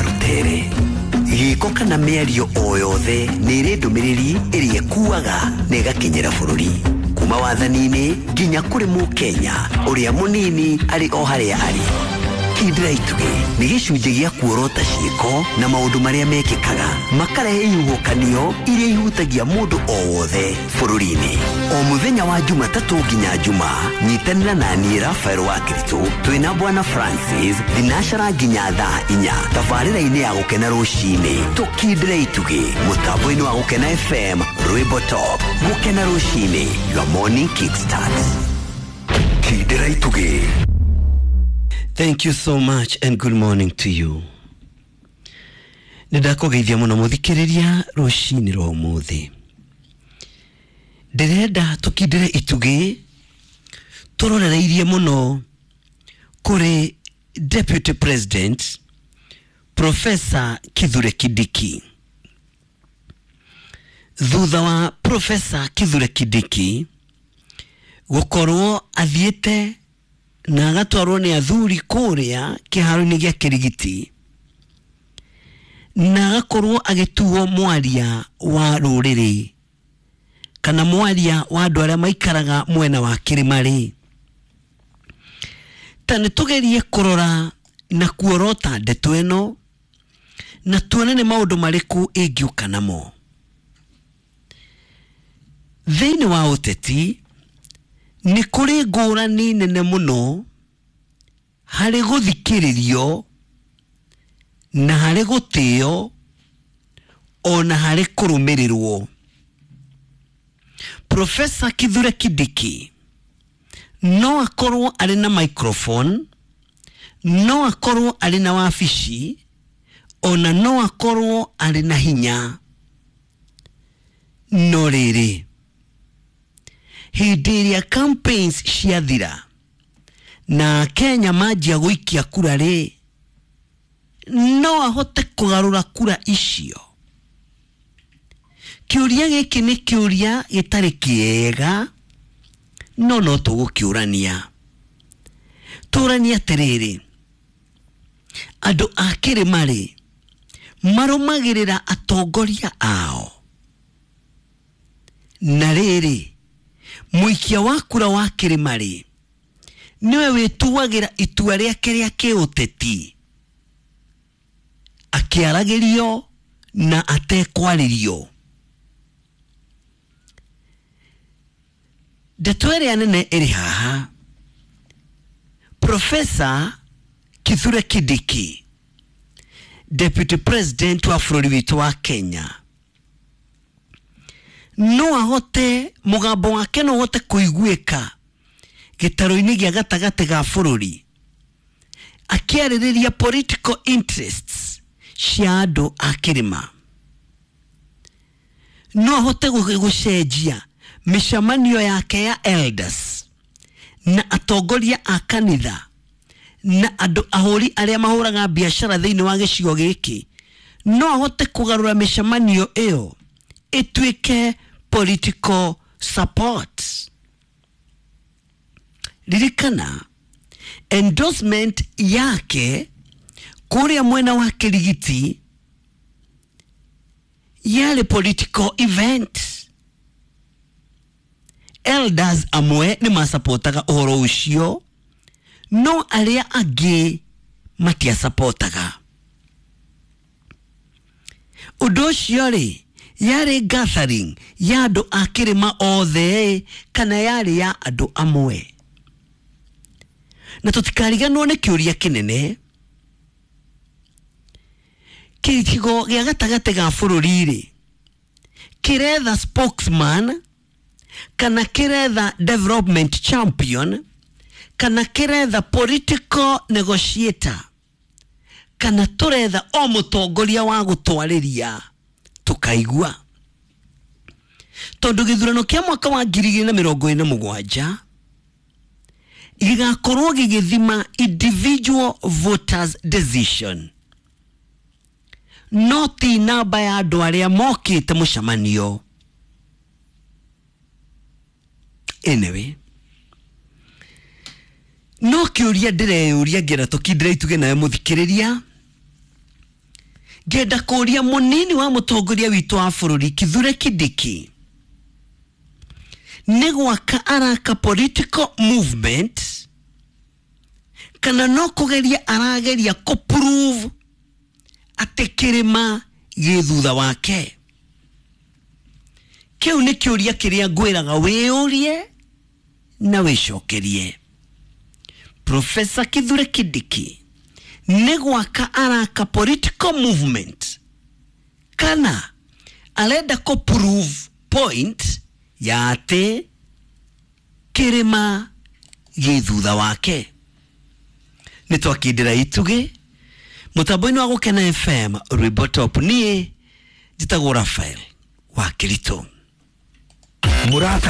Rũtere. Gĩko kana mĩario o yothe nĩ ĩrĩ ndũmĩrĩri ĩrĩa ĩkuaga na ĩgakinyĩra bũrũri kuma wathani-inĩ nginya kũrĩ mũkenya ũrĩa mũnini arĩ o harĩa arĩ. Kindĩra itugĩ nĩ gĩcunjĩ gĩa kuorota ciĩko na maũndũ marĩa mekĩkaga makarehe ihuhũkanio iria ihutagia mũndũ o wothe bũrũri-inĩ. O mũthenya wa Jumatatũ nginya Juma, nyitanĩra na niĩ Rafael wa Kiritũ twĩna Bwana Francis thinashara nginya thaa 4 tabarĩra-inĩ ya Gũkena rũcinĩ. Tũkindĩre itugĩ mũtambo-inĩ wa Gũkena FM, Rwĩmbo Top. Gũkena rũcinĩ, your morning kickstart. Kindĩra itugĩ. Thank you so much and good morning to you. Nĩ ndakũgeithia mũno mũthikĩrĩria rũcinĩ rwa ũmũthĩ. Ndĩrenda tũkindĩre itugĩ tũrorereirie mũno kũrĩ Deputy President Professor Kithure Kindiki. Thutha wa Professor Kithure Kindiki gũkorwo athiĩte na agatwarwo nĩ athuri kũrĩa kĩharo-inĩ gĩa Kĩrigiti na agakorwo agĩtuo mwaria wa rũrĩrĩ kana mwaria wa andũ arĩa maikaraga mwena wa kĩrĩma rĩ, ta nĩ tũgerie kũrora na kuorota ndeto ĩno na tuone nĩ maũndũ marĩkũ ĩngĩũka namo. Thĩinĩ wa ũteti nĩ kũrĩ ngũrani nene mũno harĩ gũthikĩrĩrio na harĩ gũtĩo ona harĩ kũrũmĩrĩrwo. Professor Kithure Kindiki no akorwo arĩ na microphone, no akorwo arĩ na wabici, ona no akorwo arĩ na hinya, no rĩrĩ hĩndĩ ĩrĩa campaigns ciathira na Kenya manjia gũikia kura rĩ, no ahote kũgarũra kura icio. Kĩũria gĩkĩ nĩ kĩũria gĩtarĩ kĩega, no no tũgũkĩũrania. Tũranie atĩrĩrĩ, andũ a kĩrĩma rĩ marũmagĩrĩra atongoria ao, na rĩrĩ mũikia wa kura wa kĩrĩma rĩ nĩwe wĩtuagĩra itua rĩake rĩa kĩũteti akĩaragĩrio na atekwarĩrio. Ndeto ĩrĩa nene ĩrĩ haha, Professor Kithure Kindiki, Deputy President wa bũrũri witũ wa Kenya, no ahote mũgambo wake no ũhote kũiguĩka gĩtarũ-inĩ gĩa gatagatĩ ga bũrũri akĩarĩrĩria political interests cia andũ a kĩrĩma. No ahote gũcenjia mĩcemanio yake ya elders na atongoria a kanitha na andũ ahũri arĩa mahũraga biacara thĩinĩ wa gĩcigo gĩkĩ, no ahote kũgarũra mĩcemanio ĩyo ĩtuĩke political support. Ririkana endorsement yake kũrĩa mwena wa Kĩrigiti yarĩ political event. Elders amwe nĩ masapotaga ũhoro ũcio, no arĩa angĩ matiasapotaga ũndũ ũcio. Rĩ yarĩ gathering ya andũ a kĩrĩma othe kana yarĩ ya andũ amwe? Na tũtikariganwo nĩ kĩũria kĩnene, gĩcigo gĩa gatagatĩ ga bũrũri rĩ kĩretha spokesman kana kĩretha development champion kana kĩretha political negotiator kana tũretha o mũtongoria wa gũtwarĩria tũkaigua? Tondũ gĩthurano kĩa mwaka wa 2027 gĩgakorwo gĩgĩthima individual voters decision, no ti namba ya andũ arĩa mokĩte mũcemanio. Anyway, no kĩũria ndĩreyũria ngĩenda tũkindĩre ituge nawe mũthikĩrĩria. Ngenda kũria mũnini wa mũtongoria witũ wa bũrũri Kithure Kindiki, nĩ gwaka araka political movement kana no kũgeria arageria kũ prove atĩ kĩrĩma gĩ thutha wake? Kĩu nĩ kĩũria kĩrĩa ngwĩraga wĩyũrie na wĩcokerie. Professor Kithure Kindiki nĩ gwaka araka political movement kana arenda kũ prove point ya atĩ kĩrĩma gĩ thutha wake? Nĩ twakindĩra itugĩ mũtambo-inĩ wa Gũkena FM, rwĩmbo top. Niĩ njĩtagwo Rafael wa Kĩritũ. Mũrata.